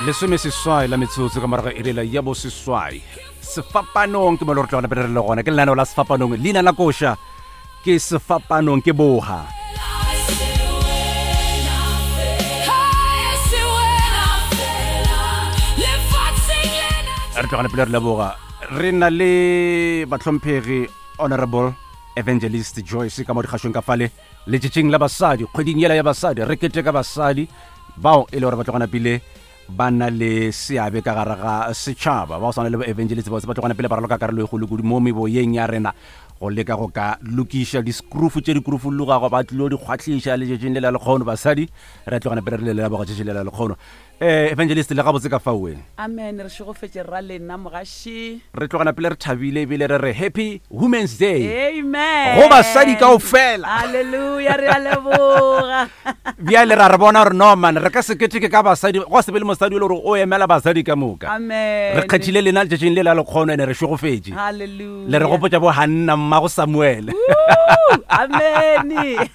Lesomeseswai la metsotso ka morago iri la ya boseswai. Sefapanong ke mo le re tlogana pele re le gona. Ke lenaneo la Sefapanong. Leina la koša ke Sefapanong ke boga. Re tlogana pele re leboga. Re na le bahlomphegi Honorable Evangelist Joyce ka mo dikgašong ka fale letšatšing la basadi, kgweding yela ya basadi, re keteka basadi bao e le gore ba tlogana pele ba na le seabe ka gare ga setšhaba, ba go swana le ba-evangelist ba ba tlogana pele ba raloka karolo e kgolo kudu mo meboyeng ya rena go leka go ka lokiša diskrufu tše di krufullugago, ba tlilo di kgwahliša letšatšing le la lekgono. Basadi re tlogana pele re le leboga tšatši le la lekgono. Eh, evangelist le gabotse ka faoe. Amen, re šegofetše rra lena mogaši. Re tlogana pele re thabile ebile re re Happy Women's Day. Amen. Go basadi kaofela. Hallelujah, re a leboga. Bjale ra re bona gore no man, re ka se keteke ka basadi, gwa se be le mosadi o le gore o emela basadi ka moka. Amen. Re kgethile lena letšatšing le la lekgono ene re šegofetše. Hallelujah. Le re gopotša bo Hanna mmago Samuel. Amen.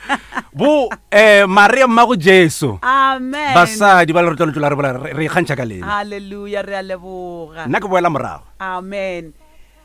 Bo eh Maria mmago Jesu. Amen. Basadi ba le re tlo la re bolela re ikgantšha ka lena. Hallelujah, re a leboga. Nna ke boela morago. Amen.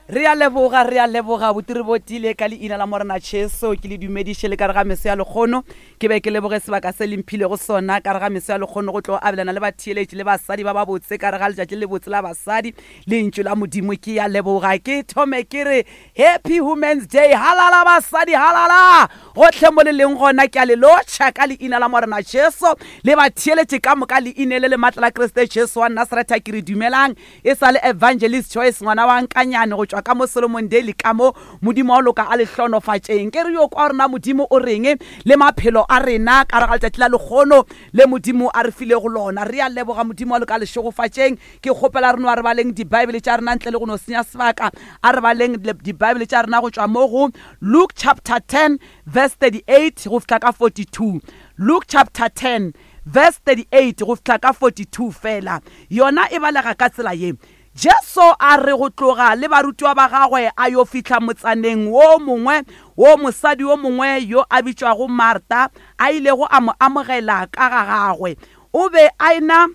Re a leboga, re a leboga botiri bo tiile ka leina la Morena Jesu. Ke le dumediše le ka re ga meso ya lekgono. Ke be ke leboge sebaka se le mphilego sona ka re ga meso ya lekgono go tlo abelana le batheeletši le basadi ba babotse ka re ga letšatši le lebotse la basadi Lentšu la Modimo. Ke a leboga. Ke thome ke re Happy Women's Day. Halala basadi, halala! Gohle mo le leng gona, ke a le lotšha ka leina la Morena Jesu. Le ba theeletše ka moka leineng le le matla la Kriste Jesu wa Nasaretha, ke re dumelang. E sa le Evangelist Joyce ngwana wa Nkanyane go tšwa ka mo Solomon Daily ka mo. Modimo wa go loka a le hlonofatšeng. Ke re yo kwa gore na Modimo o reng le maphelo a rena ka gare ga letšatši la lekgono le Modimo a re filego lona. Re a leboga Modimo wa loka a le šegofatšeng. Ke kgopela re no a re baleng Dibaebele tša rena ntle le go no senya sebaka. A re baleng Dibaebele tša rena go tšwa mo go Luke chapter 10 verse 38 go fihla ka 42. Luke chapter 10 verse 38 go fihla ka 42 feela. Yona e balega ka tsela ye, Jesu a re go tloga le barutiwa ba gagwe a yo fihla motsaneng wo mongwe wo mosadi yo mongwe yo a bitšwago Marta a ilego a mo amogela ka ga gagwe. O be a e-na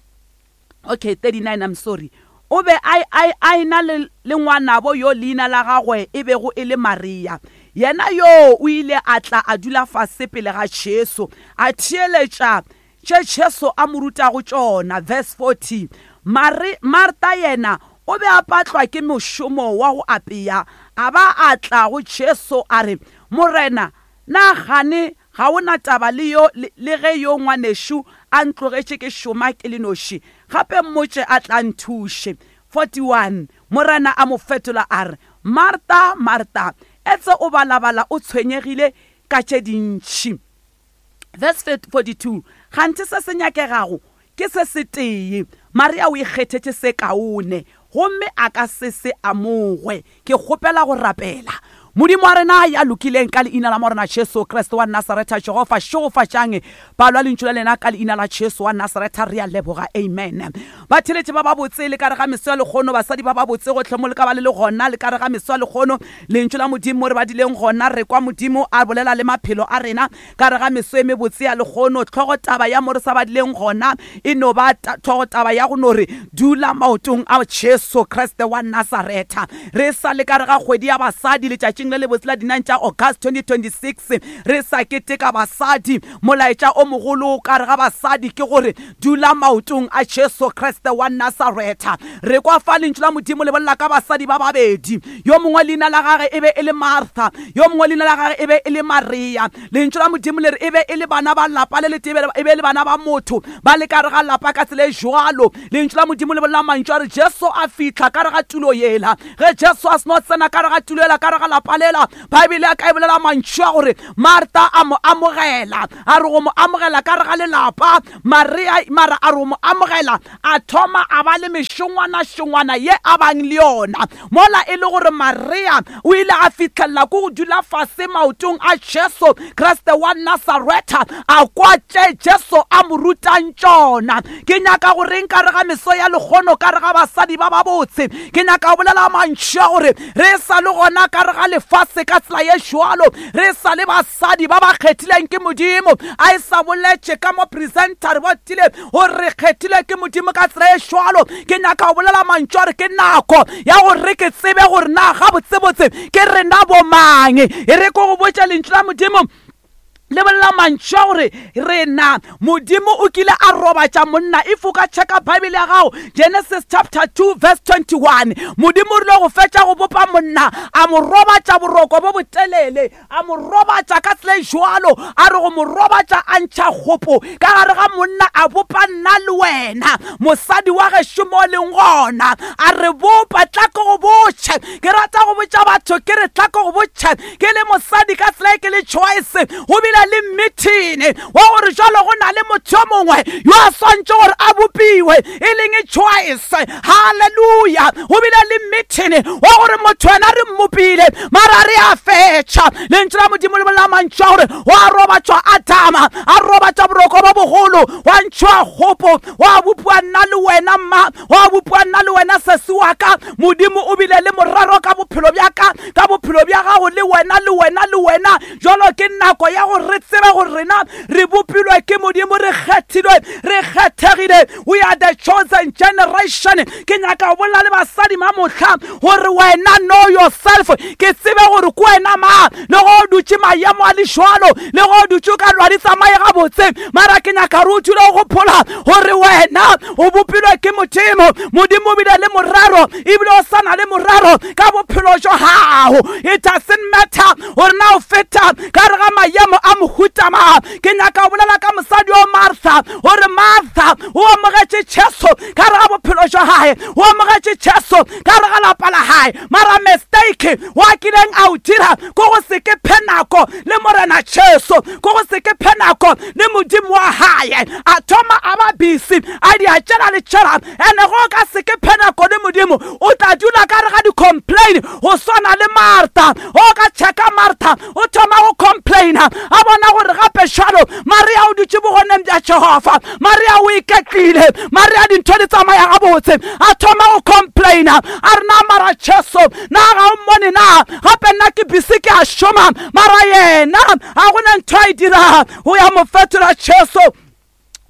okay 39 I'm sorry o be a, a, a e-na le, le ngwanabo yo leina la gagwe e bego e le Maria. Yena yoo o ile a tla a dula fase pele ga Jesu, a theeletša tše Jesu a mo rutago tšona. Verse 40, Mari, Marta yena o be a patlwa ke mošomo wa go apea, a ba a tla go Jesu a re, Morena, na gane Ga o na taba le yo, le, le ge yo ngwanešu a ntlogetše ke šoma ke le noši? Gape mmotše a tla nthuše. 41 Morena a mo fetola a re, Marta, Marta, etse o balabala o tshwenyegile ka tše dintši. Verse 42 Kganthe se se nyakegago ke se setee. Maria o ikgethetše se kaone, gomme a ka se se amogwe. Ke kgopela go rapela. Modimo wa rena ya lokileng, ka Leina la Morena Jesu Kriste wa Nasaretha, Jehofa, šegofatšang palo ya Lentšu la lena ka Leina la Jesu wa Nasaretha, re a leboga. Amen. Batheeletši ba babotse, le ka re ga meso ya lekgono, basadi ba babotse, gohle mo le ka ba le le gona, le ka re ga meso ya lekgono, Lentšu la Modimo mo re badileng gona, re kwa Modimo a bolela le maphelo a rena. Ka re ga meso e mebotse ya lekgono, hlogotaba ya mo re sa badileng gona e no ba hlogotaba ya go no re dula maotong a Jesu Kriste wa Nasaretha. Re sa le ka re ga kgwedi ya basadi, letšatšing le lebotse la di-9 tša August 2026, re sa keteka basadi. Molaetša o mogolo ka re ga basadi ke gore dula maotong a Jesu Kriste wa Nasaretha. Re kwa fa Lentšu la Modimo le bolela ka basadi ba babedi. Yo mongwe leina la gage e be e le Martha, yo mongwe leina la gage e be e le Maria. Lentšu la Modimo le re e be e le bana ba lapa le letee, e be e le bana ba motho ba le ka re ga lapa ka tsela e jwalo. Lentšu la Modimo le bolela mantšu a re Jesu a fihla ka re ga tulo yela. Ge Jesu a seno tsena ka re ga tulo yela, ka re ga lapa lela, Baebele ya ka e bolela mantšu a gore Martha a mo amogela, a re go mo amogela ka re ga lelapa. Maria mara a re go mo amogela, a thoma a ba le mešongwana-šongwana ye a bang le yona. Mola e le gore Maria o ile a fihlelela ko go dula fase maotong a Jesu Kriste wa Nasaretha, a kwa tše Jesu a mo rutang tšona. Ke nyaka go reng ka re ga meso ya lekgono, ka re ga basadi ba babotse? Ke nyaka go bolela mantšu a gore re sa le gona ka re ga le. lefase ka tsela ye jwalo re sa le basadi ba ba kgethileng ke Modimo. A e sa boletše ka mo presenter re botile gore re kgethilwe ke Modimo ka tsela ye jwalo. Ke nyaka go bolela mantšu a re ke nako ya gore re ke tsebe gore na gabotsebotse ke rena bomang. E re ko go botša lentšu la Modimo le bolela mantšu a gore rena Modimo o kile a robatša monna. If o ka checka Bible ya gago, Genesis chapter 2 verse 21, Modimo o rile go fetša go bopa monna, a mo robatša boroko bo botelele, a mo robatša ka tsela e jwalo, a re go mo robatša a ntšha kgopo ka gare ga monna, a bopa nna le wena, mosadi wa gešo mo leng gona, a re bopa. Tla ke go botše, ke rata go botša batho ke re tla ke go botše, ke le mosadi ka tsela e ke le Choice, go bile le meeting wa gore jalo go na le motho yo mongwe yo a swantše gore a bopiwe e leng Choice. Halleluja! Go bile le meeting wa gore motho wena re mmopile mara re a fetša. Lentšu la Modimo le bolela mantšu a gore wa robatšwa Adama, a robatša boroko bo bogolo, wa ntšhwa kgopo, wa bopiwa nna le wena mma, wa bopiwa nna le wena sesi wa ka. Modimo o bile le morero ka bophelo bja ka, ka bophelo bja gago, le wena, le wena, le wena. Jalo ke nako ya gore re tsebe gore rena re bopilwe ke Modimo, re kgethilwe, re kgethegile. We are the chosen generation. Ke nyaka go bolela le basadi mamohla gore wena know yourself, ke tsebe gore ke wena ma, le go o dutše maemo a le jwalo, le go o dutše o ka lwa di tsamaye gabotse, mara ke nyaka gore o dule o gopola gore wena o bopilwe ke Modimo. Modimo o bile le morero, ebile o sa na le morero ka bophelo jwa gago. It doesn't matter gore na o feta ka re ga maemo a mohuta mang. Ke nyaka go bolela ka mosadi o Martha, gore Martha o amogetše Jesu ka re ga bophelo jwa gae, o amogetše Jesu ka re ga lapa la gae, mara mistake wa kileng a o dira ko go se ke phe nako le Morena Jesu, ko go se ke phe nako le Modimo wa gae. A thoma a ba busy a di a tšela le tšela, ene go ka se ke phe nako le Modimo, o tla dula ka re ga di-complain go swana le Martha. O ka checka Martha o thoma go complaina, a bona gore gape jalo Maria o dutše bogoneng bja Jehofa, Maria o iketlile, Maria dintho di tsamaya gabotse, a thoma go complaina, a re na mara Jesu na ga o mmone na, gape nna ke busy ke a šoma, mara yena ga gona ntho a e diraga. Go ya mo fetola Jesu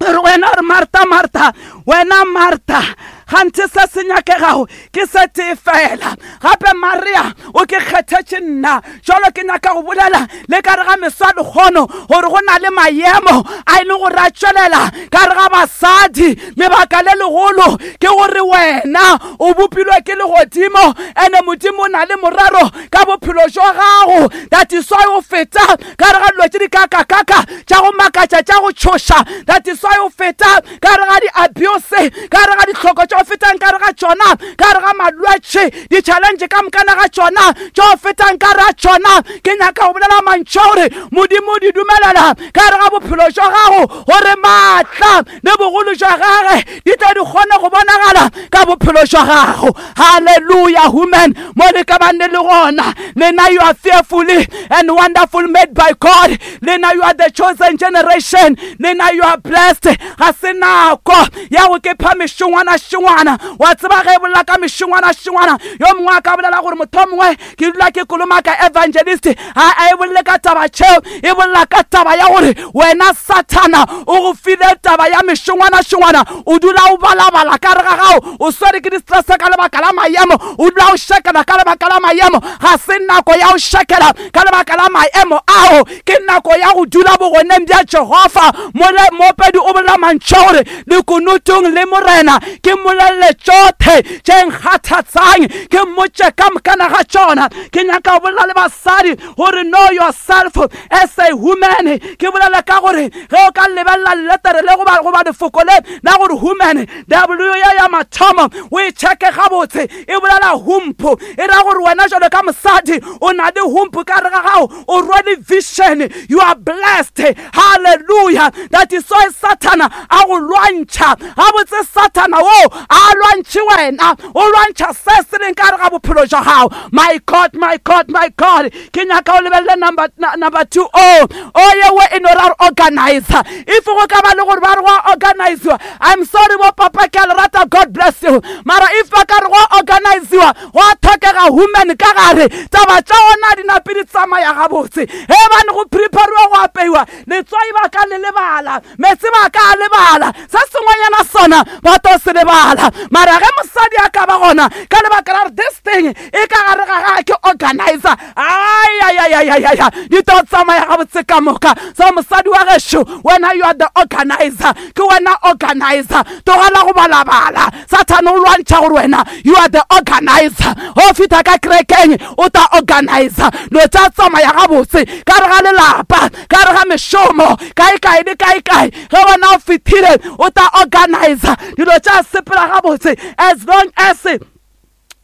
re wena re Martha, Martha, wena Martha, ganthe se se nyakegago ke se tee fela, gape Maria o ke kgethetše nna. Jalo ke nyaka go bolela le ka re ga meswa lekgono gore go na le maemo a e leng gore a tšwelela ka re ga basadi. Lebaka le legolo ke gore wena o bopilwe ke legodimo, ene Modimo o na le morero ka bophelo jwa gago. That is why o feta ka re ga dilo tše di kakakaka tša go makatša tša go tšhoša. That is why o feta ka re ga di-abuse, ka re ga ditlhoko tša go fetang ka re ga tšona, ka re ga malwetši, di-challenge ka mokana ga tšona tša go fetang ka re ga tšona. Ke nyaka go bolela mantšu a gore Modimo o di dumelela ka re ga bophelo jwa gago gore maatla le bogolo jwa gage di tle di kgone go bonagala ka bophelo jwa gago. Halleluja, human mo le ka bang le le gona, lena you are fearfully and wonderful made by God. Lena you are the chosen generation. Lena you are blessed. Ga se nako ya go ke pha mešongwana šongwana. Wa tseba ge e bolela ka mešongwana šongwana, yo mongwe a ka bolela gore motho mongwe ke dula ke kolomaka evangelist, a a e bolele ka taba tšeo, e bolela ka taba ya gore wena Sathana o go file taba ya mešongwana šongwana, o dula o balabala ka re ga gago, o swere ke di-stress ka lebaka la maemo, o dula o šekela ka lebaka la maemo. Ga se nako ya go šekela ka lebaka la maemo ao, ke nako ya go dula bogoneng bja Jehofa. Mole moopedi o bolela mantšu a gore lekunutung le Morena ke mmolelele tšohle tše nkgathatsang, ke mmotše ka mokana ga tšona. Ke nyaka go bolela le basadi gore know yourself as a woman. Ke bolele ka gore ge o ka lebelela letere le goba lefoko le la gore woman, W ya ya mathomo o e checke gabotse, e bolela humpho, e ra gore wena jalo ka mosadi o na le humpho ka re ga gago, o rwele vision, you are blessed. Hallelujah. That is why Sathana a go lwantšha gabotse. Sathana wo A lwantšhe wena, o lwantšha se se leng ka gare ga bophelo jwa gago. My God, my God, my God, ke nyaka o lebelele number, number 2. O, o yewe e no ra re organizer. If go ka ba le gore ba re go organiziwa, I'm sorry bo papa, ke a le rata, God bless you. Mara if ba ka re go organiziwa, go a tlhokega human ka gare, taba tša ona di nape di tsamaya gabotse. Ge bane go prepariwa go apeiwa, letswai ba ka le lebala, meetse ba ka a lebala, se sengwenyana sona ba tlo se lebala. Mara ge mosadi a ka ba gona, ka lebaka la gore this thing e ka gare ga gage ke organizer, ayayayayaya, di tlo tsamaya gabotse ka moka. So mosadi wa gešo, wena you are the organizer, ke wena organizer. Tlogela go balabala, Sathane o lwantšha gore wena you are the organizer. O fihla ka kerekeng o tla organizer dilo tša tsamaya gabotse ka re ga lelapa, ka re ga mešomo, kae kae le kae kae. Ge wena o fihlile o tla organizer dilo tša sepela gabotse, as long as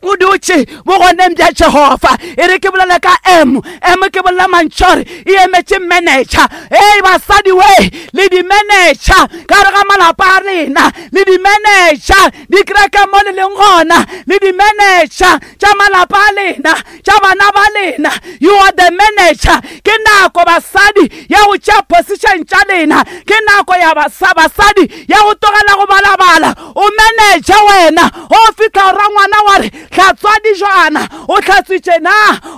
o dutše bogoneng bja Jehofa. E re ke bolele ka M. M ke bolela mantšore e emetše manager. Ei basadi we, le di-manager ka re ga malapa a rena, le di-manager dikereke mo le leng gona, le di-manager tša malapa a lena, tša bana ba lena. You are the manager. Ke nako basadi ya go tšea position tša lena, ke nako ya basadi ya go tlogela go balabala. O manager wena, o fihla o ra ngwana wa re hlatswa dijwana, o hlatswitše na,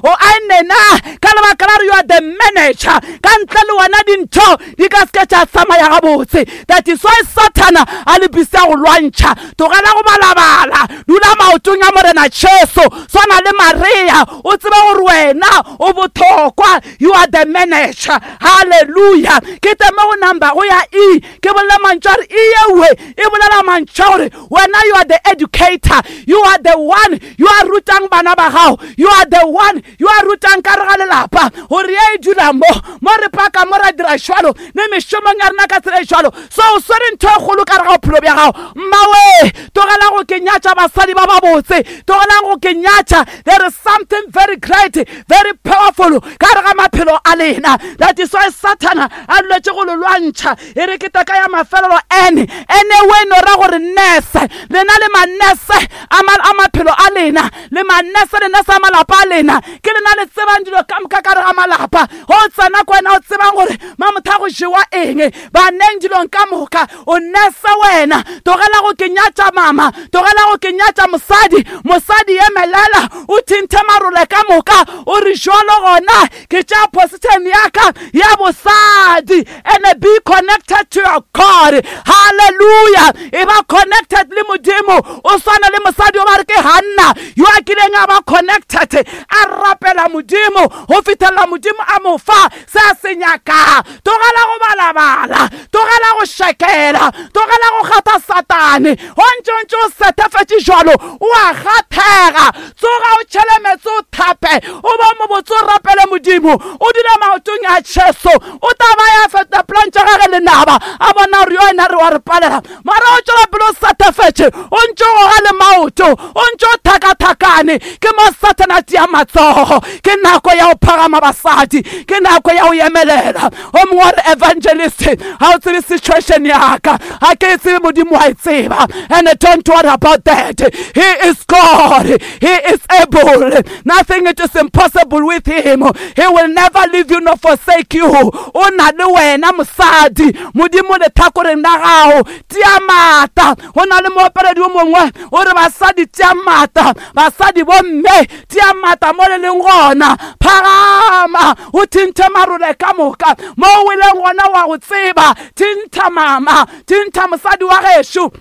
o aenne na, ka lebaka la gore you are the manager. Ka ntle le wena dintho di ka se ke tša tsamaya gabotse. That is why Sathana a le busy a go lwantšha. Tlogela go balabala, dula maotong a Morena Jesu, swana le Maria, o tsebe gore wena o bohlokwa. You are the manager. Hallelujah. Ke teme go number go ya E, ke bolela mantšu a re E yewe e bolela mantšu a gore wena you are the educator, you are the one you are rutang bana ba gago, you are the one you are rutang ka re ga lelapa gore ye e dula mo, mo re paka mo ra dira jwalo le mešomong ya rena ka tsela e jwalo. So o swere ntho e kgolo ka re ga bophelo bja gago. Mmawe, tlogela go ke nyatša basadi ba babotse, tlogelang go ke nyatša. There is something very great, very powerful ka re ga maphelo a lena. That is why Sathana a duletše go le lwantšha. E re ke teka ya mafelelo N, N we no ra gore nurse. Lena le manese a maphelo a lena, le manese le nurse a malapa a lena. Ke lena le tsebang dilo ka moka ka re ga malapa. Go tsena ko wena o tsebang gore mamotha go jewa eng, baneng dilong ka moka. O nurse wena. Tlogela go ke nyatša mama, tlogela go ke nyatša mosadi. Mosadi emelela, o thinthe marole ka moka, o re jwalo gona ke tšea position ya ka ya bosadi. And be connected to your God. Hallelujah. E ba connected le Modimo. O swana le mosadi o ba re ke Hanna, yo a kileng a ba connected, a rapela Modimo go fihlela Modimo a mo fa se a se nyakang. Tlogela go balabala, tlogela go šekela, tlogela go gata Satane. O ntše o ntše o setefetše jwalo, o a gathega. Tsoga o tšhele meetse, o thape, o bo mobotse, o rapele Modimo, o dule maotong a Jesu. O tla ba ya feta plan tša gage lenaba, a bona gore yo ena re wa re palela. Mara o tšwela pele o satafetše, o ntše o goga le maoto, o ntše o thakathakane. Ke mo Sathane a tia matsogo. Ke nako ya go phagama basadi, ke nako ya go emelela. O mongwe wa re evangelist, ga o tsebe situation ya ka, ga ke e tsebe, Modimo wa e tseba. And don't worry about that. He is God, he is able, nothing it is impossible with him. He will never leave you nor forsake you. O na le wena mosadi, Modimo letlhakoreng la gago. Tia maatla. Go na le moopeledi o mongwe o re basadi tia maatla, basadi bomme tia maatla mo le leng gona. Phagama o thinthe marole ka moka mo o weleng gona, wa go tseba. Thintha mama, thintha mosadi wa gešo,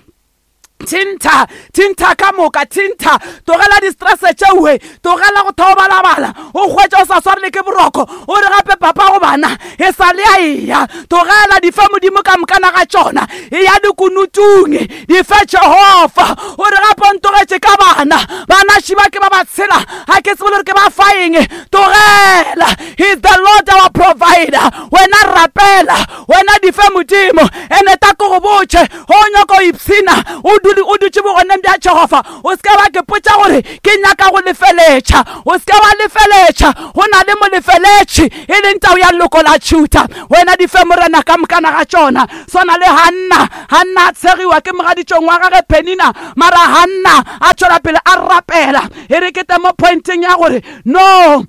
thintha, thintha ka moka, thintha. Tlogela di-stress tšeue, tlogela go thobalabala, o hwetša o sa swarele ke boroko, o re gape papa go bana e sa le a eya. Tlogela di fe Modimo ka mokana ga tšona, e ya dikunutung, di fe Jehofa. O re gape o ntogetše ka bana, bana šiba ke ba ba tshela, ga ke tsebe le gore ke ba fa eng. Tlogela, he is the Lord our provider. Wena rapela, wena di fe Modimo. Ene ta ko go botše, o nyaka go ipshina, o dule o dutše bogoneng bja ya Jehofa, o se ke wa ke potša gore ke nyaka go lefeletša. O se ke wa lefeletša. Go na le molefeletši, e leng tau ya leloko la Juda. Wena di fe Morena ka mokana ga tšona. Swana le Hanna. Hanna a tshegiwa ke mogaditšong wa gage Penina, mara Hanna a tšwela pele a rapela. E re ke tle mo pointeng ya gore no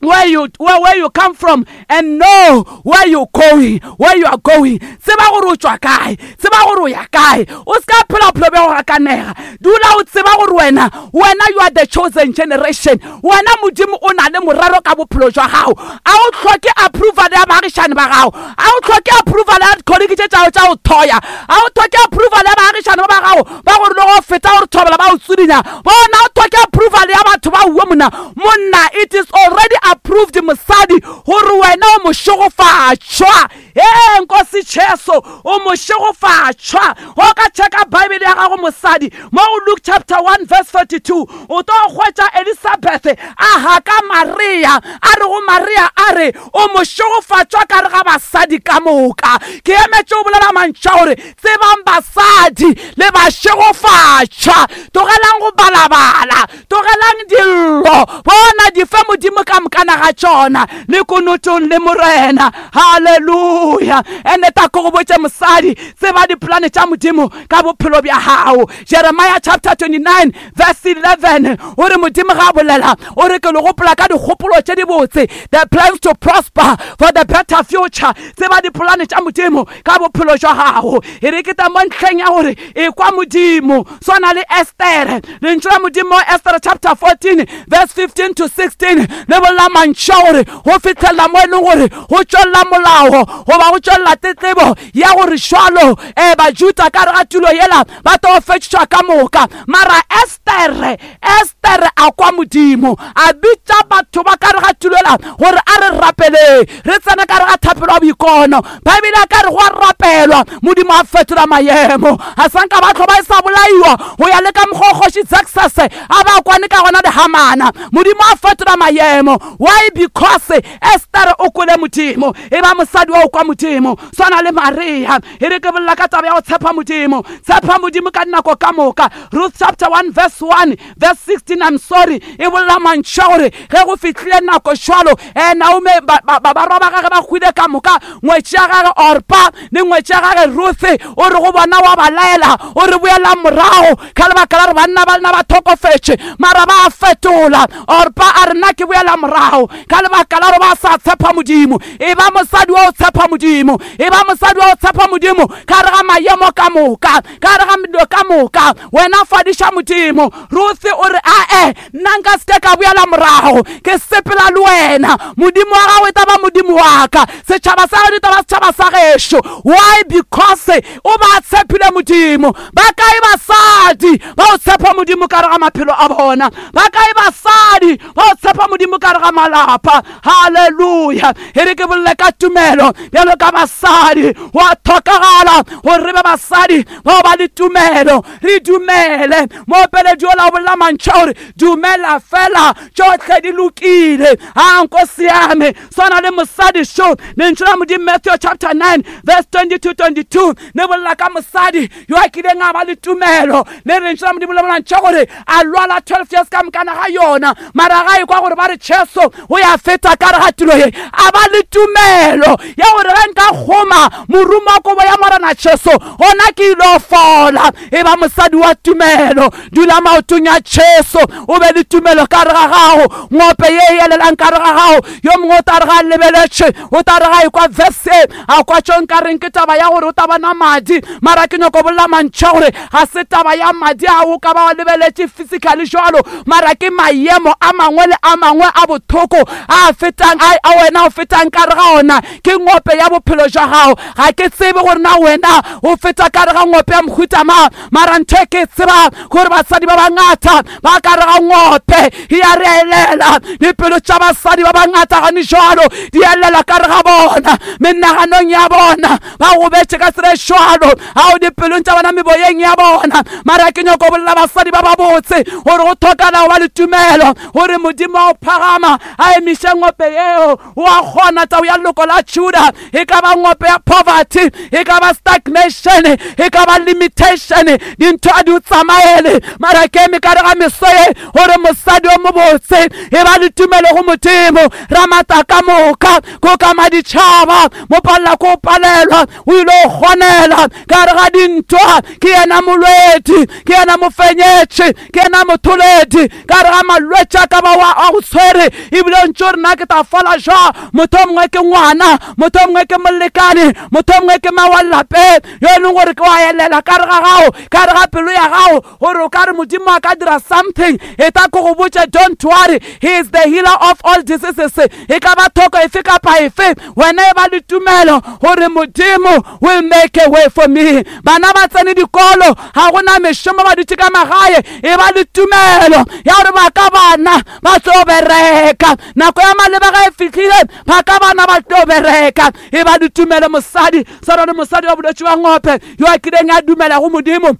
where you where, where you come from and know where you going where you are going tseba gore o tšwa kae tseba gore o ya kae o se ka phela bophelo bja go gakanega dula o tseba gore wena wena you are the chosen generation wena modimo o na le morero ka bophelo jwa gago a o hloke approval ya baagišane ba gago a o hloke approval ya dikholiki tše tšago tša go thoya a o hloke approval ya baagišane ba ba gago ba gore le go feta gore thobela ba o tswidinya bona o hloke approval ya batho ba uwe monna monna it is already approved mosadi gore wena o mošegofatšwa ee nkosi Jesu o mošegofatšwa go ka checka bible ya gago mosadi mo go Luke chapter 1 verse 42 o tlo hwetša Elizabeth a haka Maria a re go Maria a re o mošegofatšwa ka re ga basadi ka moka ke emetše o bolela mantšu a gore tsebang basadi le bašegofatšwa tlogelang go balabala Tlogelang dillo, bona di fe Modimo ka mokana ga tšona, le kunutong le Morena. Haleluya! Ene ta ko go botše mosadi, tseba dipolane tša Modimo ka bophelo bja gago. Jeremiah chapter 29 verse 11 o re Modimo ga a bolela, o re ke le gopola ka dikgopolo tše dibotse, the plans to prosper for the better future. Tseba dipolane tša Modimo ka bophelo jwa gago. E re ke ta mo ntlheng ya gore ekwa Modimo. Swana le Estere. Lentšu la Modimo mo Estere chapter 14 verse 15 to 16 le bolela mantšu a gore go fihlelela mo e leng gore go tšwelela molao goba go tšwelela tletlebo ya gore šwalo um Bajuda ka re ga tulo yela ba tlo fetšwa ka moka. Mara Estere, Estere a kwa Modimo, a bitša batho ba ka re ga tulo yela gore a re rapeleng, re tsene ka re ga thapelo ya boikono. Baebele a ka re go a rapelwa, Modimo a fetola maemo. A sa nka ba tlho ba e sa bolaiwa go ya le ka mokgwa kgoši Xerxes a ba kwane ka gona le Hamana. Modimo a fetola maemo. Why? Because Esther o kwele Modimo. E ba mosadi wa o kwa Modimo. Swana le Maria. E re ke bolela ka taba ya go tshepa Modimo. Tshepa Modimo ka dinako ka moka. Ruth chapter 1 verse 1 verse 16 I'm sorry e bolela mantšu a gore ge go fihlile nako šwalo um Naomi barwa ba gage ba hwile ka moka ngwetši ya gage Orpa le ngwetši ya gage Ruthe o re go bona wa ba laela o re boelang morago ka lebaka la gore banna ba lena ba thokofetše mara ba fetola Orpa a re nna ke boela morago ka lebaka la gore ba sa tshepa Modimo e ba mosadi wa o tshepa Modimo e ba mosadi wa o tshepa Modimo ka re ga maemo ka moka ka gare ga dilo ka moka wena fadiša modimo ruthe o re ae nna nka seke ka boela morago ke sepela le wena modimo wa gago e taba modimo wa ka setšhaba sa geno e taba setšhaba sa gešo why because o ba tshepile modimo ba kae basadi ba o tshepa modimo ka re ga maphelo a bona ba kae basadi ba o tshepa modimo ka re ga malapa Haleluya! E re ke bolele ka tumelo bjalo ka basadi. Go a tlhokagala gore re be basadi bao ba le tumelo, re dumele. Moopeledi yola o bolela mantšu a gore, Dumela fela, tšohle di lokile. A nko siame, swana le mosadi šo. Lentšu la Modimo Matthew chapter 9 verse 22 22 le bolela ka mosadi yo a kileng a ba le tumelo. Le lentšu la Modimo le bolela mantšu a gore a lwala 12 years ka mokana ga yona. Mara ga ekwa gore ba re Jesu o ya feta ka re ga tulo ye, a ba le tumelo ya gore ge nka kgoma morumo wa kobo ya Morena Jesu, gona ke ilo fola. E ba mosadi wa tumelo, dula maotong ya Jesu, o be le tumelo ka re ga gago. Ngope ye e elelang ka re ga gago, yo mongwe o tla re ga a lebeletše, o tla re ga ekwa verse, a kwa tšo nka reng ke taba ya gore o tla bona madi. Mara ke nyoko bolela mantšu a gore ga se taba ya madi a o ka ba wa lebeletše physically jwalo, mara ke maemo a mangwe le a mangwe a bothoko a fetang a wena o fetang ka re ga ona ke ngope ya bophelo jwa gago. Ga ke tsebe gore na wena o feta ka re ga ngope ya mohuta mang, mara ntho e ke tseba gore basadi ba bangata ba ka re ga ngope ya re elela. Dipelo tša basadi ba bangata gane jwalo di elela ka re ga bona, menaganong ya bona ba gobetše ka tsela e jwalo, ao dipelong tša bona, meboyeng ya bona. Mara ke nyako bolela basadi ba babotse gore go tlhokala go ba le tumelo gore Modimo wa go phagama a emiše ngope yeo. O a kgona, tau ya leloko la Juda. E ka ba ngope ya poverty, e ka ba stagnation, e ka ba limitation, dintho a di o tsamaele. Mara ke eme ka re ga meso ye gore mosadi o mobotse e ba le tumelo go Modimo Ramata ka moka, ko ka maditšhaba mo palela ko palelwa, o ile o kgonela ka re ga dintwa. Ke yena molwedi, ke yena mofenyetši, ke yena motholedi ka re ga malwetši a ka ba wa a go tshwere, ebile o ntse o re na ke ta fola jwa. Motho o mongwe ke ngwana, motho o mongwe ke molekane, motho o mongwe ke ma wa lapeng yo e leng gore ke wa elela ka re ga gago, ka re ga pelo ya gago, gore o ka re Modimo a ka dira something. E ta ko go botše, don't worry, he is the healer of all diseases. E ka ba thoko efe kapa efe, wena e ba le tumelo gore Modimo will make a way for me. Bana ba tsene dikolo, ga gona mešomo, ba dutše ka magae, e ba le tumelo ya gore ba ka bana ba tlo bereka nako ya maleba ga e fihlile, ba ka bana ba tlo bereka. E ba le tumelo mosadi, swana le mosadi wa bolwetši wa ngope yo a kileng a dumela go Modimo,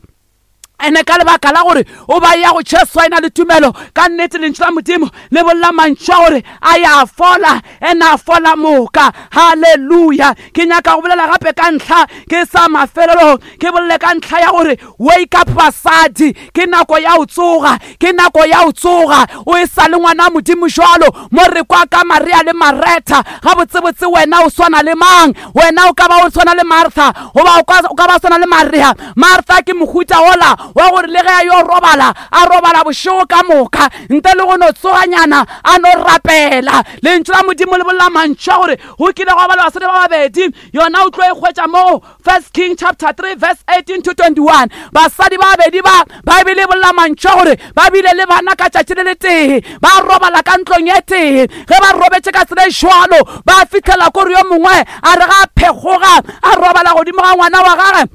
ene ka lebaka la gore o ba ya go Jesu a ena le tumelo ka nnete. Lentšu la Modimo le bolela mantšu a gore a ya fola, ene a fola moka. Halleluja. Ke nyaka go bolela gape ka ntlha ke sa mafelelong, ke bolele ka ntlha ya gore wake up basadi, ke nako ya go tsoga, ke nako ya go tsoga. O e sa le ngwana Modimo jwalo mo re kwa ka Maria le Maretha. Gabotsebotse wena o swana le mang? Wena o ka ba o tshwana le Martha, goba o ka ba swana le Maria. Martha ke mohuta ola wa gore le ge a yo robala, a robala bošego ka moka ntle le go no tsoganyana a no rapela. Lentšu la Modimo le bolela mantšu a gore go kile gwa ba le basadi ba babedi, yona o tlo e hwetša mo 1 King chapter 3 verse 18 to 21. Basadi ba babedi ba, Baebele e bolela mantšu a gore ba bile le bana ka tšatši le letee, ba robala ka ntlong e tee. Ge ba robetše ka tsela e jwalo, ba fihlela kore yo mongwe a re ga a phekgoga a robala godimo ga ngwana wa gage,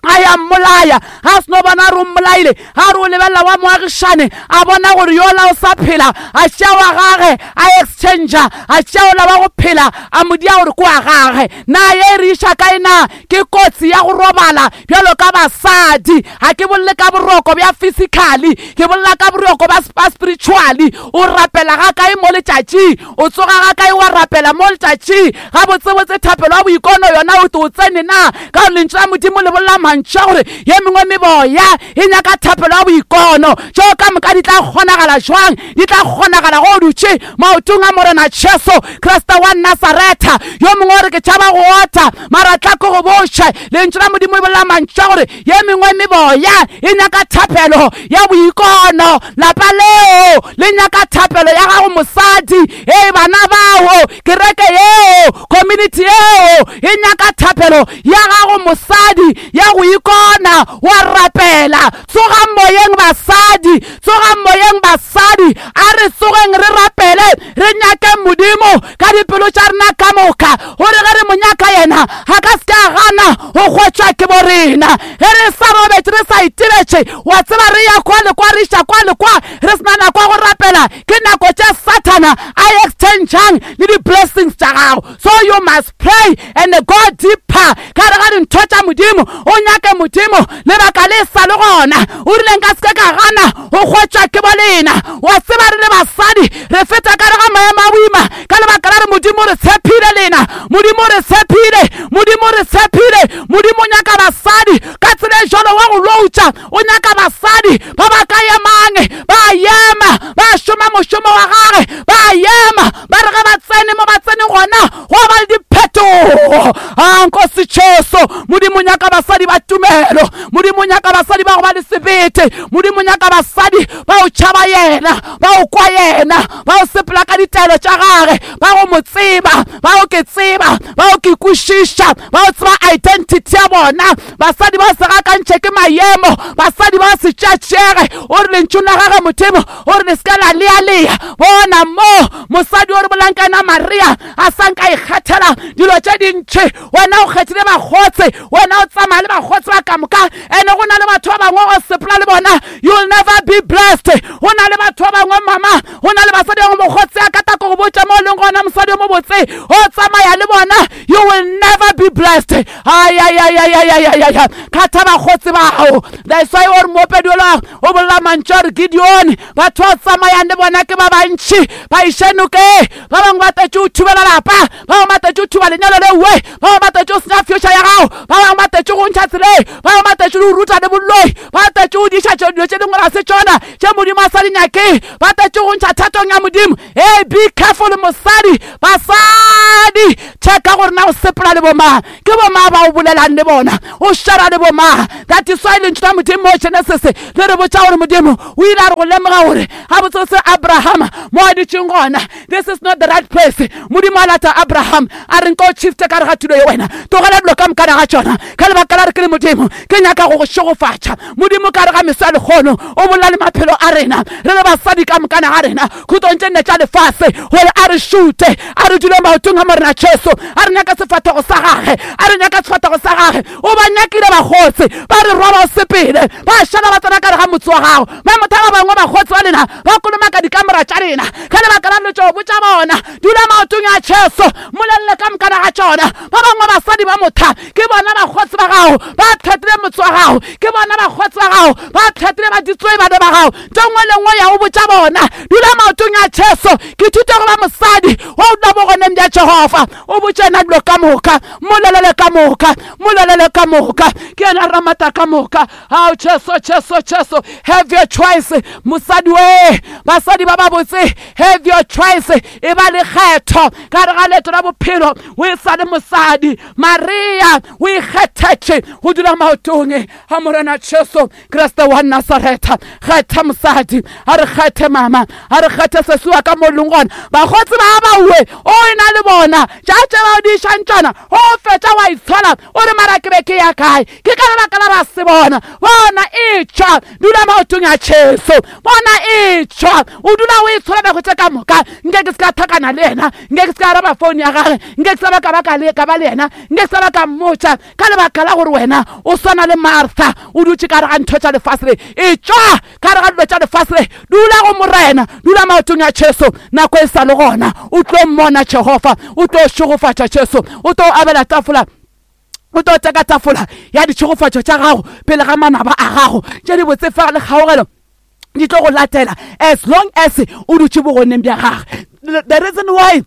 a ya mmolaya. Ga a seno bona a re o mmolaile, ga a re o lebelela wa moagišane, a bona gore yola o sa phela, a tšea wa gage a exchanger, a tšea ola wa go phela a mo dia gore ke wa gage. Na ye e re iša kae? Na ke kotsi ya go robala bjalo ka basadi? Ga ke bolele ka boroko bja physically, ke bolela ka boroko ba spiritually. O rapela ga kae mo letšatšing? O tsoga ga kae wa rapela mo letšatšing? Gabotsebotse thapelo ya boikono yona o o tsene na? Ka gore lentšu la Modimo le bolela mantšu a gore ye mengwe meboya e nyaka thapelo ya boikono. Tšeo ka moka di tla kgonagala jwang? Di tla kgonagala go o dutše maotong a Morena Jesu Kriste wa Nasaretha. Yo mongwe o re ke tšhaba go ota, mara tla ko go botše, lentšu la Modimo e bolela mantšu a gore ye mengwe meboya e nyaka thapelo ya boikono. Lapa leo le nyaka thapelo ya gago mosadi, ee bana bao, kereke yeo, community yeo e nyaka thapelo ya gago mosadi ya go ikona wa rapela. Tsogang moyeng basadi, tsogang moyeng basadi, a re tsogeng re rapele, re nyake Modimo ka dipelo tša rena ka moka, gore ge re mo nyaka yena a ka se ke a gana go hwetšwa ke bo rena. Ge re sa robetše, re sa itebetše, wa tseba re ya kwa le kwa, re iša kwa le kwa, re se na nako ya go rapela, ke nako tše Sathana a exchangang le di-blessings tša gago. So you must pray and go deeper ka gare ga dintho tša Modimo, o nyake Modimo lebaka le sa le gona. O rile nka se ke ka gana go hwetšwa ke bo lena. Wa tseba re le basadi re feta ka gare ga maemo a boima ka lebaka la re Modimo re tshephile lena, Modimo re tshephile, Modimo re tshephile. Modimo o nyaka basadi ka tsela e jalo wa go loutša, o nyaka basadi ba ba ka emang, ba ema ba šoma mošomo wa gage, ba ema ba re ge ba tsene mo ba tsene gona go ba le diphetogo. A Nkosi Jesu, Modimo o nyaka basadi ba tumelo, Modimo o nyaka basadi ba go ba le sebete, Modimo o nyaka basadi ba go tšhaba yena, ba go kwa yena, ba go sepela ka ditaelo tša gage, ba go mo tseba, ba go ke tseba, ba go ke kwešiša, ba go tseba identity ya bona. Basadi ba se gakantšhe ke maemo, basadi ba se tšatšege. O re lentšung la gage Modimo o re le se ka la lealea. Bona mo mosadi o re bolang ka yena Maria a sa nka ikgethela dilo tše dintši. Wena o kgethile bakgotse, wena o tsamaya le bakgotse ba ka moka, ene go na le batho ba bangwe go sepela le bona, you'll never be blessed. Go na le batho ba bangwe mama, go na le basadi ba bangwe mokgotse a ka tla ko go botša mo o leng gona mosadi o mo. botse o tsamaya le bona, you will never be blessed. Ayayayayayayaya, kgatha bakgotsi bao. That's why o re moopedi ola o bolela mantšu a re Gideon, batho ba o tsamayang le bona ke ba bantši, ba iše nokeng. Ba bangwe ba tletše go thubela lapa, ba bangwe ba tletše go thuba lenyalo lewe, ba bangwe ba tletše go senya future ya gago, ba bangwe ba tletše go ntšha tseleng, ba bangwe ba tletše go ruta le boloi, ba tletše go diša dilo tše dingwe ga se tšona tše Modimo a sa di nyakeng, ba tletše go ntšha thatong ya Modimo. Hey, be careful mosadi, basadi, checka gore na o sepela le bomang, ke bomang ba o bolelang le bona, o shara le bomang. That is why lentšu la Modimo mo Genesis le re botša gore Modimo o ile a re go lemoga gore gabotsebotse Abrahama mo a dutšeng gona, this is not the right place. Modimo a lata Abraham a re nka o shifte ka re ga tulo ye wena, tlogela dilo ka mokana ga tšona, ka lebaka la re ke le Modimo ke nyaka go go šegofatša. Modimo ka re ga meso ya lekgono o bolela le maphelo a rena re le basadi ka mokana ga rena khutong tše nne tša lefase, gore a re šute, a re dule maotong a Morena Jesu, a re nyaka sefahlego sa gage, a re nyaka sefahlego sa gage. O ba nyakile bakgotsi, ba re roba o sepele, ba šala ba tsena ka re ga motse wa gago. Ba motha ba bangwe bakgotsi ba lena ba kolomaka dikamora tša lena ka lebaka la dilo tšeo botša bona. Dula maotong a Jesu, mmolelele ka mokana ga tšona. Ba bangwe basadi ba motha ke bona bakgotsi ba gago, ba tlhatlile motse wa gago, ke bona bakgotsi ba gago, ba tlhatlile ba ditsoe bana ba gago. Ntho nngwe le nngwe ya go botša bona, dula maotong a Jesu. Ke thuto go ba mosadi wa o dula bogoneng bja Jehofa. O botše yena dilo ka moka, mmolelele ka moka, mmolelele ka moka. Ke yena ramata ka moka. Ao Jesu, Jesu, Jesu, have your choice mosadi we. Basadi ba babotse, have your choice. E ba le kgetho ka re ga leeto la bophelo. O e sa le mosadi Maria, o ikgethetše go dula maotong a Morena Jesu Kriste wa Nasaretha. Kgetha mosadi, a re kgethe mama, a re kgethe sesi wa ka mo leng gona. Bakgotsi ba bawe o e na le bona, tša tše ba o di išang tšona, o fetša wa itshola o re mara ke be ke ya kae? Ke ka lebaka la ba se bona. Bona e tšwa, dula maotong a Jesu. Bona e tšwa, o dula o itshola nako tše ka moka. Nke ke se ka thakana le yena, nke ke se ka araba phone ya gage, nke ke se ba ka ba ka le ka ba le yena, nke ke se ba ka mmotša, ka lebaka la gore wena o swana le Martha, o dutše ka gare ga ntho tša lefase le. E tšwa ka gare ga dilo tša lefase le, dula go Morena, dula maotong a Jesu nako e sa le gona. O tlo mmona Jehofa, o tlo šegofatša Jesu, o tlo abela tafola, o tlo teka tafola ya ditšhegofatšo tša gago pele ga manaba a gago. Tše dibotse fa le kgaogelo di tlo go latela as long as o dutše bogoneng bja gage. The reason why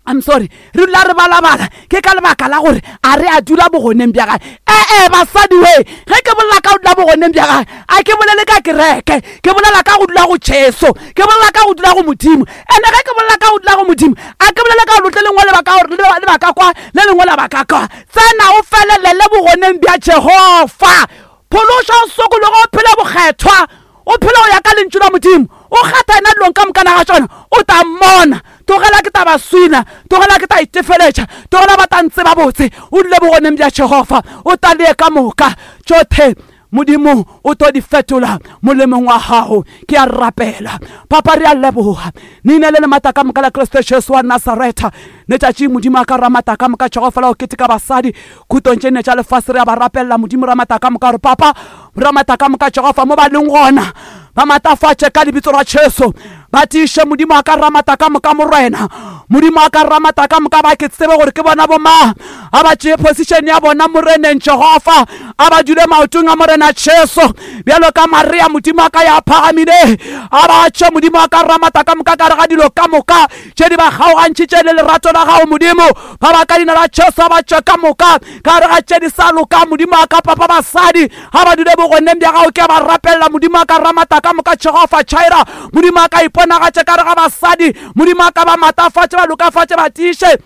I'm sorry, re dula re balabala ke ka lebaka la gore a re a dula bogoneng bja gage. Ee basadi we, ge ke bolela ka go dula bogoneng bja gage, a ke bolele ka kereke, ke bolela ka go dula go Jesu, ke bolela ka go dula go Modimo. Ene ge ke bolela ka go dula go Modimo, a ke bolele ka go le lengwe lebaka gore lebaka kwa, le lengwe lebaka kwa. Tsena o felelele bogoneng bja Jehofa. Phološa o sokologe, o phele bokgethwa, o phele go ya ka lentšu la Modimo, o kgatha yena dilong ka mokana ga tšona, o tla mmona. Tlogela ke ta ba swina, tlogela ke ta itefeletša, tlogela ba ta ntseba botse. O dule bogoneng bja Jehofa, o ta lee ka moka tšohle Modimo o tlo di fetola molemong wa gago. Ke a rapela Papa, re a leboga leina le le maatla ka moka la Kriste Jesu wa Nasaretha. Letšatši Modimo a ka ramata ka moka Jehofa la go keteka basadi khutong tše nne tša lefase, re a ba rapelela Modimo ramata ka moka gore Papa ramata ka moka Jehofa mo ba leng gona ba matafatše ka lebitso la Jesu, ba tiiše Modimo a ka ramata ka moka Morena. Modimo a ka ramata ka moka ba ke tsebe gore ke bona bomang, a ba tšee position ya bona Moreneng Jehofa, a ba dule maotong a Morena Jesu bjalo ka Maria. Modimo a ka ya phagamile, a ba tše Modimo a ka ramata ka moka ka re ga dilo ka moka tše di ba kgaogantšhitše le lerato la gago Modimo, ba ba ka leina la Jesu a ba tšwe ka moka ka re ga tše di sa loka. Modimo a ka papa basadi ga ba dule bogoneng bja gago, ke a ba rapelela Modimo a ka ramata ka moka Jehofa Jireh. Modimo a ka iponagatše ka re ga basadi, Modimo a ka ba matafatše, ba lokafatše, ba tiiše,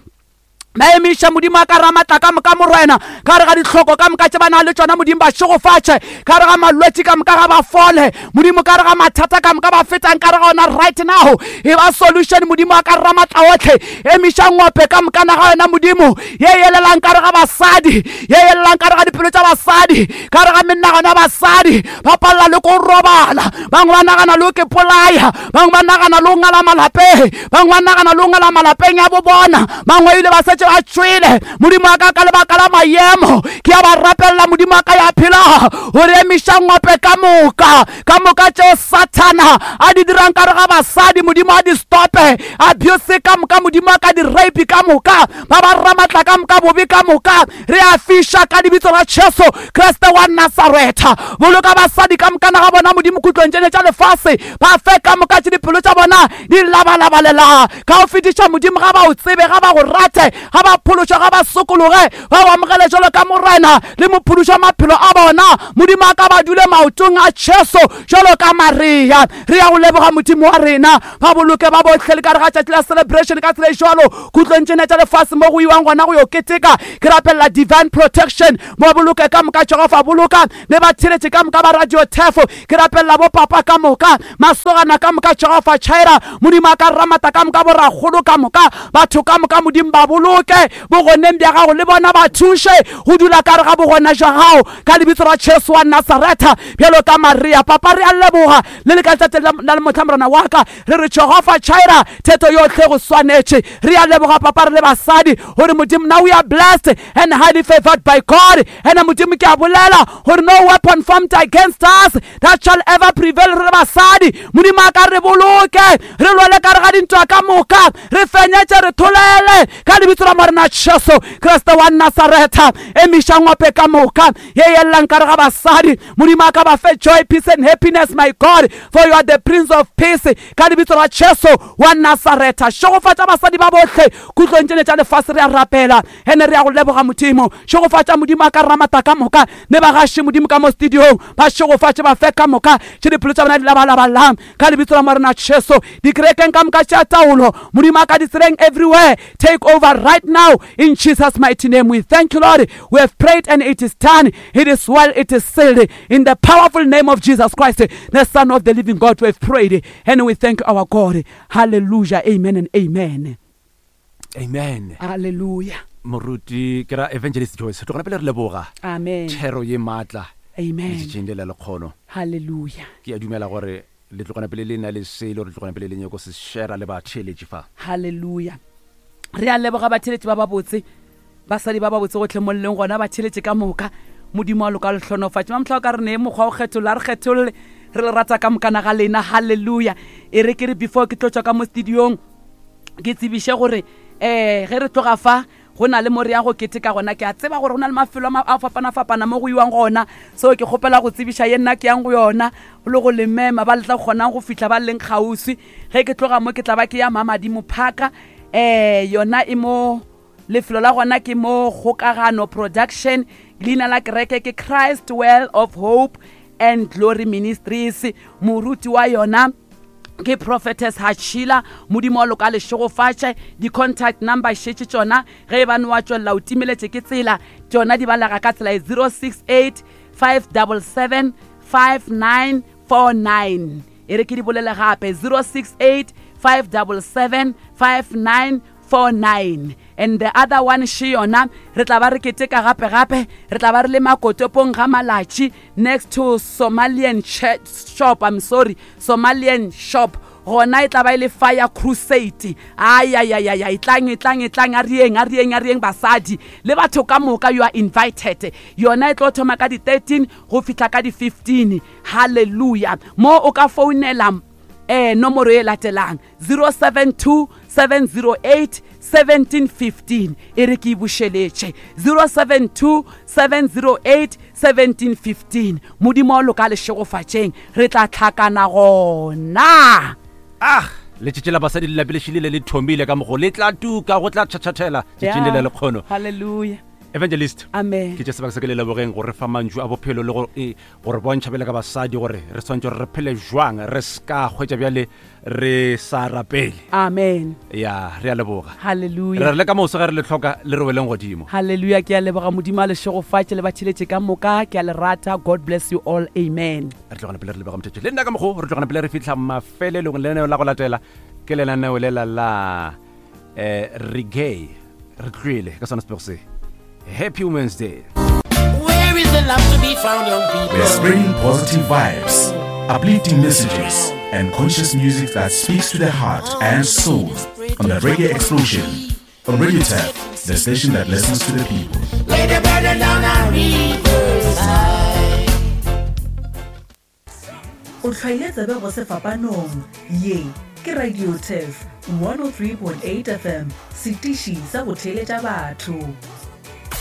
ba emiše. Modimo a ka ramatla ka moka Morena ka re ga ditlhoko ka moka tše ba na le tšona. Modimo ba šegofatše ka re ga malwetši ka moka ga ba fole. Modimo ka re ga mathata ka moka ba fetang ka re ga ona right now, e ba solution. Modimo a ka ramatla otlhe, emiša ngope ka moka naga yona Modimo ye yelelang ka re ga basadi, ye yelelang ka re ga dipelo tša basadi, ka re ga menagano ya basadi. Ba palela le ko robala, bangwe ba nagana le ke polaya, bangwe ba nagana le o ngala malapeng, bangwe ba nagana le o ngala malapeng a bo bona, bangwe ile ba setse šetše ba tšwele Modimo wa ka ka lebaka la maemo. Ke a ba rapelela Modimo wa ka ya phelago gore emiša ngope ka moka ka moka tšeo Sathana a di dirang ka re ga basadi Modimo a di stope abuse ka moka Modimo wa ka di rape ka moka ba ba ramatla ka moka bobe ka moka re a fiša ka lebitso la Jesu Kriste wa Nasaretha. Boloka basadi ka mokana ga bona Modimo khutlong tšene tša lefase ba fe ka moka tše dipelo tša bona di labalabalela ka go fetiša Modimo ga ba o tsebe ga ba go rate ga ba phološwa ga ba sokologe ba o amogele jalo ka Morena le mophološi wa maphelo a bona Modimo a ka ba dule maotong a Jesu jalo ka Maria. Re ya go leboga Modimo wa rena ba boloke ba bohle le ka re ga tšatši la celebration ka tsela e jalo khutlong tšene tša lefase mo go iwang gona go yo keteka. Ke rapelela divine protection mo boloke ka moka Jehofa boloka le ba theletše ka moka ba radio thefo. Ke rapelela bo papa ka moka masogana ka moka Jehofa Chaira Modimo a ka ramata ka moka borakgolo ka moka batho ka moka Modimo ba boloke bogoneng bja gago le bona ba thuše go dula ka re ga bogona jwa gago ka lebitso la Jesu wa Nasaretha bjalo ka Maria. Papa re a leboga le le ka letšatši la mohla Morena wa ka re re Jehofa Chaira theto yohle go swanetše. Re a leboga papa re le basadi gore Modimo now we are blessed and highly favored by God. Ene Modimo ke a bolela gore no weapon formed against us that shall ever prevail. Re le basadi Modimo a ka re boloke re lwele ka re ga dintwa ka moka re fenyetše re tholele ka lebitso la Morena Jesu Kriste wa Nasaretha. Emiša ngope ka moka ye yellang ka re ga basadi Modimo a ka ba fe joy, peace and happiness, my God, for you are the Prince of Peace. Ka lebitso la Jesu wa Nasaretha, šegofatša basadi ba bohle khutlong tšene tša lefase. Re a rapela ene re ya go leboga Modimo. Šegofatša Modimo a ka ramata ka moka ne ba gaše Modimo ka mo studiong ba šegofatše ba fe ka moka tše dipelo tša bona di labalabalang ka lebitso la Morena Jesu. Dikerekeng ka moka tša taolo Modimo a ka ditseleng everywhere, take over right now in Jesus mighty name. We thank you Lord, we have prayed and it is done. It is well, it is sealed in the powerful name of Jesus Christ, the Son of the living God. We have prayed and we thank our God. Hallelujah, amen and amen. Amen. Hallelujah. Moruti ke ra Evangelist Joyce, tlogela pele re leboga. Amen. Thero ye matla. Amen. Letšatšing le la lekgono. Hallelujah. Ke a dumela gore le tlogana pele le na le se le gore tlogana pele le nyako se share le batheeletši fa. Hallelujah. Re a leboga batheeletši ba babotse. Basadi ba babotse gohle mo leng gona, ba theletše ka moka. Modimo wa loka le hlonofatše. Mamohla o ka re nee mokgwa o kgetholla, re kgetholle. Re le rata ka mokana ga lena. Hallelujah. E re ke re before ke tlo tšwa ka mo studiong, ke tsebiše gore um ge re tloga fa go na le mo re yang go keteka gona. Ke a tseba gore go na le mafelo a fapana-fapana mo go iwang gona, so ke kgopela go tsebiša ye nna ke yang go yona le go le mema ba le tla kgonang go fihla ba leng kgauswi. Ge ke tloga mo ke tla ba ke ya Mamadimo Park, um yona e mo Lefelo la gona ke mo Kgokagano Production. Leina la kereke ke Christ Well of Hope and Glory Ministries. Moruti wa yona ke Prophetess Hachila. Modimo wa loka lešegofatše. Di-contact number šetše tšona ge e bane wa tšwelela o timeletše ke tsela, tšona di balega ka tsela e 068 577 5949. E re ke di bolele gape 068 577 5949. 49 and the other one še yona re tla ba re keteka gape gape re tla ba re le makotopong ga malatši next to Somalian shop, I'm sorry, Somalian shop, gona e tla ba e le fire crusade. Ayayayaya, etlang etlang etlang, a rieng a rieng a rieng basadi le batho ka moka, you are invited. Yona e tlo thoma ka di 13 go fihla ka di 15. Hallelujah. Mo o ka founela eh nomoro e latelang 072 708 1715. E re ke e bušeletše 072 708 1715. Modimo wa loka lešegofatšeng, re tla tlhakana gona. Ah, letšatši la basadi le lapile šilile le thomile ka mogo le tla tuka go tla tšhatšhathela tšatšing le le lekgono. Hallelujah. Evangelist, amen. Ke tše sebaka se ke le lebogeng go re fa mantšu a bophelo le go e, gore bontšha bjale ka basadi gore re swantse gore re phele jwang, re ska hwetša bjale re sa rapele. Amen. Ya, re a leboga. Hallelujah. Re re le ka moso ge re le hloka le re weleng godimo. Hallelujah. Ke a leboga, Modimo a le šegofatše le ba tšheletše ka moka. Ke a le rata. God bless you all. Amen. Re tlogana pele re leboga mothetše le nna ka mokgo re tlogana pele re fihla mafelelong. Lenaneo la go latela ke lenaneo lela la eh reggae. Re tlwele ka sona sepego se. Happy Women's Day. Where is the love to be found, young people? We're spreading positive vibes, uplifting messages, and conscious music that speaks to the heart and soul on the Reggae Explosion on Radio Tap. The station that listens to the people. Lay the burden down on riverside. O hlwaile tsebe go sefapanong. Ye ke Radio Turf 103.8 FM, setiši sa go theeletša batho.